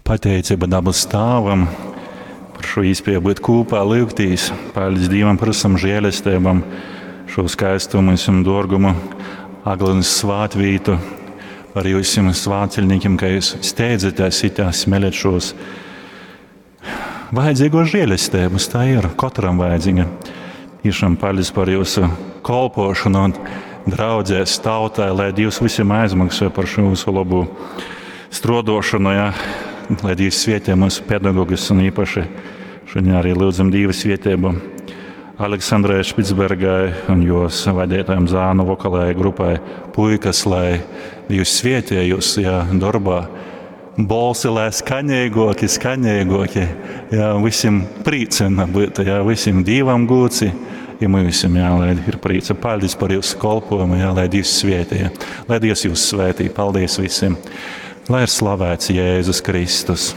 Pateicība dabas Tāvam par šo īspēju būt kopā, lūgtīs. Paldies Dievam par visam žēlestībām, šo skaistumu un dārgumu, Aglonas svātvītu, par jūsim svātceļniekiem, ka jūs steidzaties itā smeļat šos vajadzīgo žēlestības. Tā ir katram vajadzīga. Tiešām paldies par jūsu kolpošanu un draudzēs tautai, lai Dievs visiem aizmaksā par šo jūsu labu strodošanu, ja? Lai Dievs svietē mūsu pedagogus un īpaši šodien arī lūdzam Dieva svietēbu Aleksandrai Špicbergai un jos vadītājiem zānu vokalajai grupai Puikas, lai Dievs svietē jūs, ja, darbā. Bolsi, lai skaņīgoki, skaņīgoki, jā, visiem prīcena būtu, jā, visiem Dievam gūci, ja visiem, jā, lai ir prīca. Paldies par jūsu kolpojumu, jā, lai Dievs svietī, jā. Lai Dievs jūs svētī. Paldies visiem. Lai ir slavēts Jēzus Kristus.